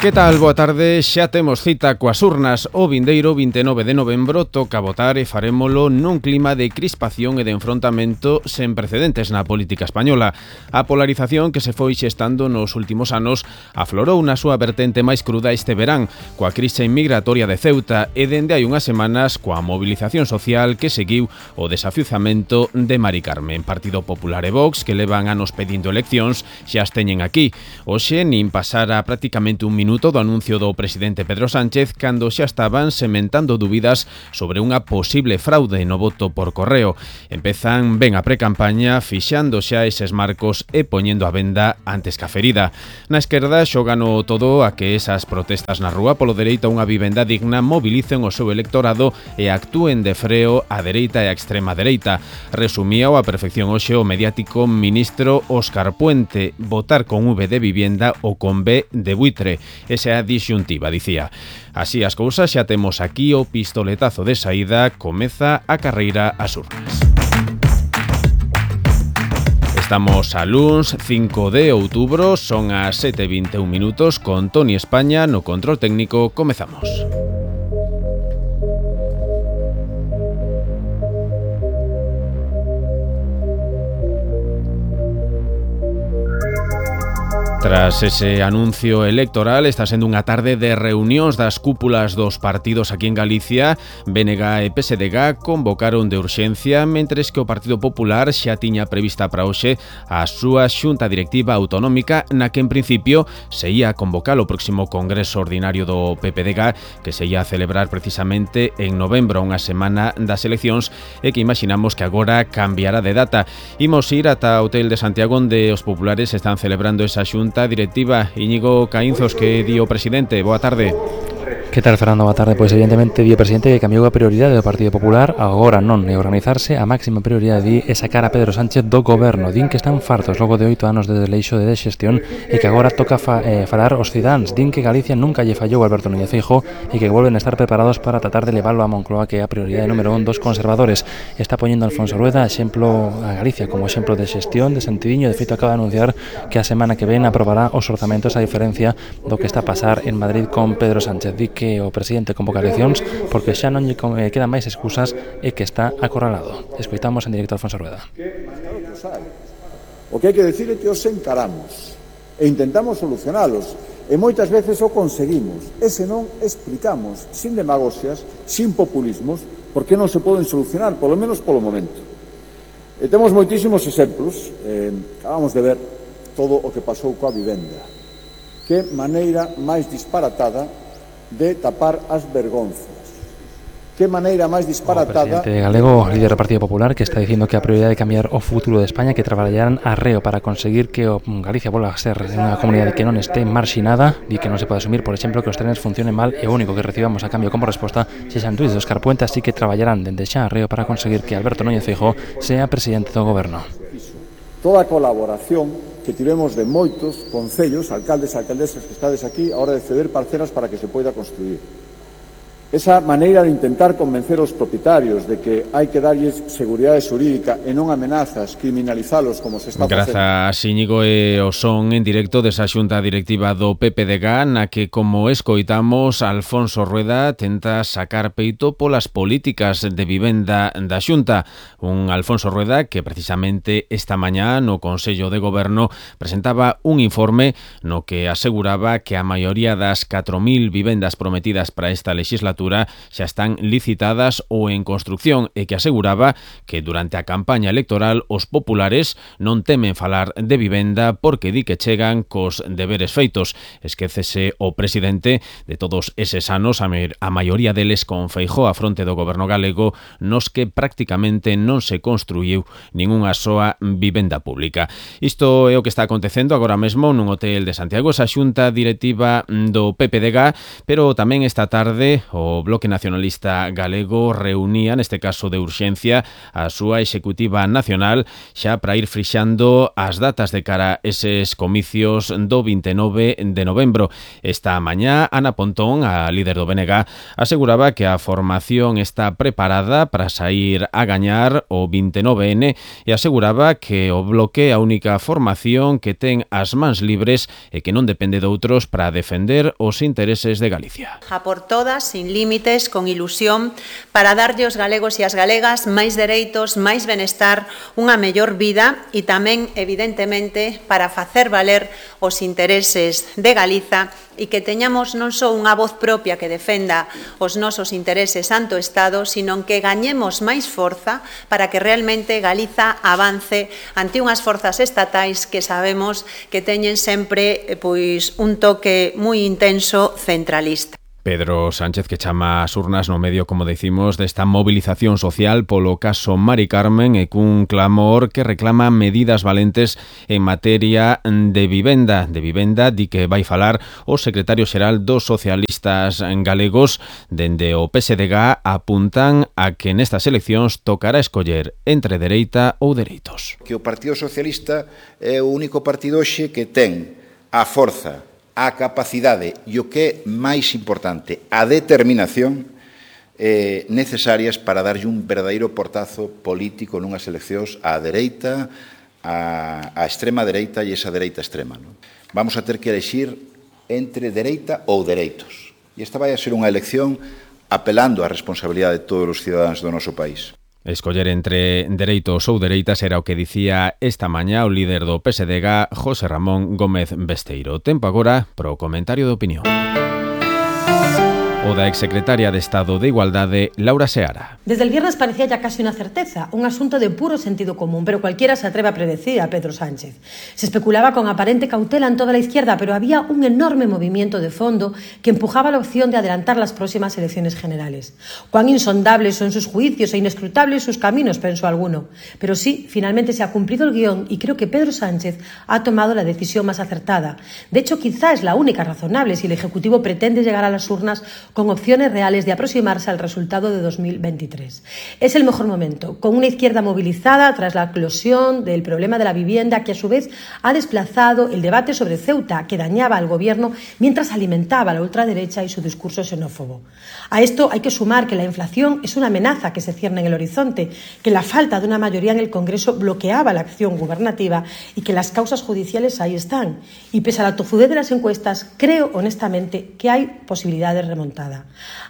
Que tal? Boa tarde, xa temos cita coas urnas. O vindeiro 29 de novembro toca votar e farémolo nun clima de crispación e de enfrontamento sen precedentes na política española. A polarización que se foi xestando nos últimos anos aflorou na súa vertente máis cruda este verán, coa crise migratoria de Ceuta e dende hai unhas semanas coa movilización social que seguiu o desafiuzamento de Mari Carmen. Partido Popular e Vox, que levan anos pedindo eleccións, xa as teñen aquí. Hoxe nin pasara prácticamente un minuto do anuncio do presidente Pedro Sánchez cando xa estaban sementando dúbidas sobre unha posible fraude no voto por correo. Empezan ben a precampaña fixando xa eses marcos e poñendo a venda antes que a ferida. Na esquerda xogano todo a que esas protestas na rúa polo dereito a unha vivenda digna mobilicen o seu electorado e actúen de freo a dereita e a extrema dereita. Resumía a perfección hoxe o mediático ministro Óscar Puente: votar con V de vivienda ou con B de buitre. Esa é a disyuntiva, dicía. Así as cousas, xa temos aquí o pistoletazo de saída, comeza a carreira ás urnas. Estamos a luns 5 de outubro, son as 7:21 minutos, con Toni España no control técnico. Comezamos. Tras ese anuncio electoral, está sendo unha tarde de reunións das cúpulas dos partidos aquí en Galicia. BNG e PSDG convocaron de urxencia, mentres que o Partido Popular xa tiña prevista para hoxe a súa xunta directiva autonómica, na que en principio se ia a convocar o próximo Congreso Ordinario do PPDG, que se ia a celebrar precisamente en novembro, unha semana das eleccións, e que imaginamos que agora cambiará de data. Imos ir ata o Hotel de Santiago, onde os populares están celebrando esa xunta directiva. Íñigo Caínzos, que di o presidente. Boa tarde. Que tal, Fernando? Boa tarde. Pois evidentemente di o presidente que cambiou a prioridade do Partido Popular. Agora non é organizarse, a máxima prioridade é sacar a Pedro Sánchez do goberno. Din que están fartos logo de 8 anos de desleixo de xestión e que agora toca falar os cidáns. Din que Galicia nunca lle fallou a Alberto Núñez Feijóo e que volven a estar preparados para tratar de leválo a Moncloa, que é a prioridade número 1 dos conservadores. Está poñendo Alfonso Rueda exemplo a Galicia como exemplo de xestión, de sentidiño. De feito, acaba de anunciar que a semana que ven aprobará os orzamentos, a diferencia do que está a pasar en Madrid con Pedro Sánchez. Di que o presidente convoca eleccións porque xa non lle quedan máis excusas e que está acorralado. Escoitamos en directo a Alfonso Rueda. O que hai que decir é que os encaramos e intentamos solucionalos e moitas veces o conseguimos, e se non explicamos sin demagoxias, sin populismos, por que non se poden solucionar, polo menos polo momento. E temos moitísimos exemplos. Acabamos de ver todo o que pasou coa vivenda. Que maneira máis disparatada de tapar as vergonzas. Que maneira máis disparatada... O presidente galego, líder do Partido Popular, que está dicindo que a prioridade é cambiar o futuro de España, que traballarán arreo para conseguir que Galicia volva a ser unha comunidade que non este marxinada e que non se pode asumir, por exemplo, que os trenes funcionen mal e o único que recibamos a cambio como resposta sexan tuits de Óscar Puente, así que traballarán dende xa arreo para conseguir que Alberto Núñez Feijóo sea presidente do goberno. Toda a colaboración que tivemos de moitos concellos, alcaldes e alcaldesas que estades aquí, a hora de ceder parcelas para que se poida construir. Esa maneira de intentar convencer os propietarios de que hai que darlles seguridade xurídica e non amenazas, criminalizalos como se está facendo. Grazas, Íñigo, e o son en directo desa xunta directiva do PPDG, na que, como escoitamos, Alfonso Rueda tenta sacar peito polas políticas de vivenda da xunta. Un Alfonso Rueda que precisamente esta mañá no Consello de Goberno presentaba un informe no que aseguraba que a maioría das 4.000 vivendas prometidas para esta legislatura xa están licitadas ou en construcción e que aseguraba que durante a campaña electoral os populares non temen falar de vivenda porque di que chegan cos deberes feitos. Esquécese o presidente de todos eses anos, a maioría deles con Feijóo a fronte do goberno galego, nos que prácticamente non se construíu ningunha soa vivenda pública. Isto é o que está acontecendo agora mesmo nun hotel de Santiago, esa xunta directiva do PPDG, pero tamén esta tarde o o Bloque Nacionalista Galego reunía, neste caso de urxencia, a súa executiva nacional xa para ir frixando as datas de cara a eses comicios do 29 de novembro. Esta mañá, Ana Pontón, a líder do BNG, aseguraba que a formación está preparada para sair a gañar o 29N e aseguraba que o Bloque é a única formación que ten as mans libres e que non depende de outros para defender os intereses de Galicia. A por todas, sin límites, con ilusión, para darlle aos galegos e as galegas máis dereitos, máis benestar, unha mellor vida e tamén, evidentemente, para facer valer os intereses de Galiza e que teñamos non só unha voz propia que defenda os nosos intereses ante o Estado, sino que gañemos máis forza para que realmente Galiza avance ante unhas forzas estatais que sabemos que teñen sempre un toque moi intenso centralista. Pedro Sánchez, que chama as urnas no medio, como decimos, desta movilización social polo caso Mari Carmen e cun clamor que reclama medidas valentes en materia de vivenda. De vivenda, di que vai falar o secretario xeral dos socialistas galegos. Dende o PSDG apuntan a que nestas eleccións tocará escoller entre dereita ou dereitos. Que o Partido Socialista é o único partido hoxe que ten a forza, a capacidade e o que é máis importante, a determinación necesarias para darlle un verdadeiro portazo político nunhas eleccións á dereita, á extrema dereita e esa dereita extrema. Non? Vamos a ter que elegir entre dereita ou dereitos. E esta vai a ser unha elección apelando á responsabilidade de todos os cidadáns do noso país. Escoller entre dereitos ou dereitas era o que dicía esta mañá o líder do PSDG, José Ramón Gómez Besteiro. Tempo agora pro comentario de opinión. O da exsecretaria de Estado de Igualdade, Laura Seara. Desde el viernes parecía ya casi una certeza, un asunto de puro sentido común, pero cualquiera se atreve a predecir a Pedro Sánchez. Se especulaba con aparente cautela en toda la izquierda, pero había un enorme movimiento de fondo que empujaba la opción de adelantar las próximas elecciones generales. Cuán insondables son sus juicios e inescrutables sus caminos, pensó alguno. Pero sí, finalmente se ha cumplido el guión y creo que Pedro Sánchez ha tomado la decisión más acertada. De hecho, quizá es la única razonable si el Ejecutivo pretende llegar a las urnas con opciones reales de aproximarse al resultado de 2023. Es el mejor momento, con una izquierda movilizada tras la eclosión del problema de la vivienda que a su vez ha desplazado el debate sobre Ceuta, que dañaba al gobierno mientras alimentaba a la ultraderecha y su discurso xenófobo. A esto hay que sumar que la inflación es una amenaza que se cierne en el horizonte, que la falta de una mayoría en el Congreso bloqueaba la acción gubernativa y que las causas judiciales ahí están. Y pese a la tozudez de las encuestas, creo honestamente que hay posibilidad de remontada.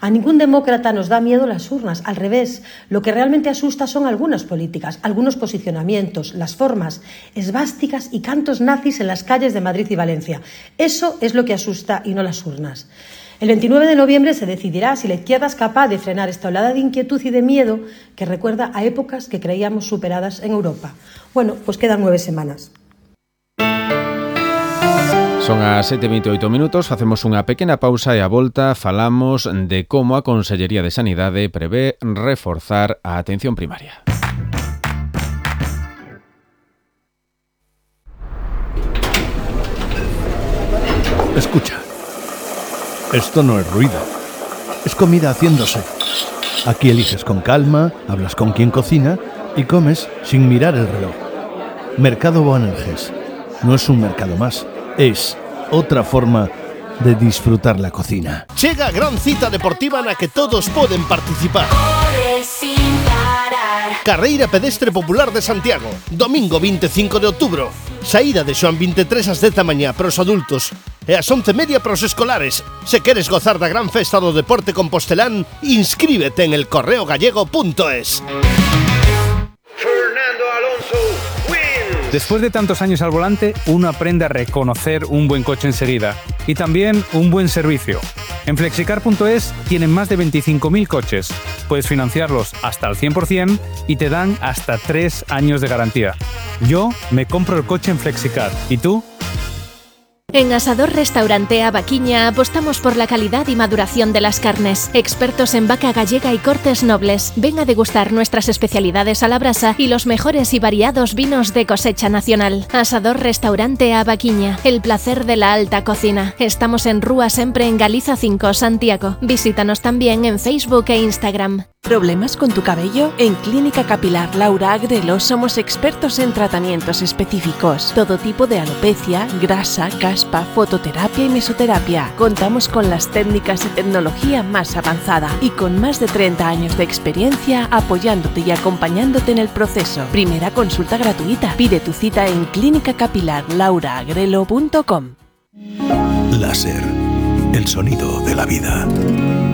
A ningún demócrata nos da miedo las urnas, al revés. Lo que realmente asusta son algunas políticas, algunos posicionamientos, las formas, esvásticas y cantos nazis en las calles de Madrid y Valencia. Eso es lo que asusta y no las urnas. El 29 de noviembre se decidirá si la izquierda es capaz de frenar esta oleada de inquietud y de miedo que recuerda a épocas que creíamos superadas en Europa. Bueno, pues quedan 9 semanas. Son as 7:28 minutos, facemos unha pequena pausa e a volta falamos de como a Consellería de Sanidade prevé reforzar a atención primaria. Escucha, esto no es ruido, es comida haciéndose. Aquí eliges con calma, hablas con quien cocina y comes sin mirar el reloj. Mercado Boanerges no es un mercado más. Es otra forma de disfrutar la cocina. Chega a gran cita deportiva na que todos poden participar. Carreira pedestre popular de Santiago, domingo 25 de outubro. Saída de Xoán 23 ás 10 da mañá para os adultos e ás 11:30 para os escolares. Se queres gozar da gran festa do deporte compostelán, inscríbete en elcorreogallego.es. Después de tantos años al volante, uno aprende a reconocer un buen coche enseguida y también un buen servicio. En Flexicar.es tienen más de 25.000 coches. Puedes financiarlos hasta al 100% y te dan hasta 3 años de garantía. Yo me compro el coche en Flexicar. ¿Y tú? En Asador Restaurante Avaquiña apostamos por la calidad y maduración de las carnes. Expertos en vaca gallega y cortes nobles. Ven a degustar nuestras especialidades a la brasa y los mejores y variados vinos de cosecha nacional. Asador Restaurante Avaquiña, el placer de la alta cocina. Estamos en Rúa Sempre en Galiza 5, Santiago. Visítanos también en Facebook e Instagram. ¿Problemas con tu cabello? En Clínica Capilar Laura Agrelo somos expertos en tratamientos específicos. Todo tipo de alopecia, grasa, caspa, fototerapia y mesoterapia. Contamos con las técnicas y tecnología más avanzada y con más de 30 años de experiencia apoyándote y acompañándote en el proceso. Primera consulta gratuita. Pide tu cita en clínicacapilarlauraagrelo.com. Láser, el sonido de la vida.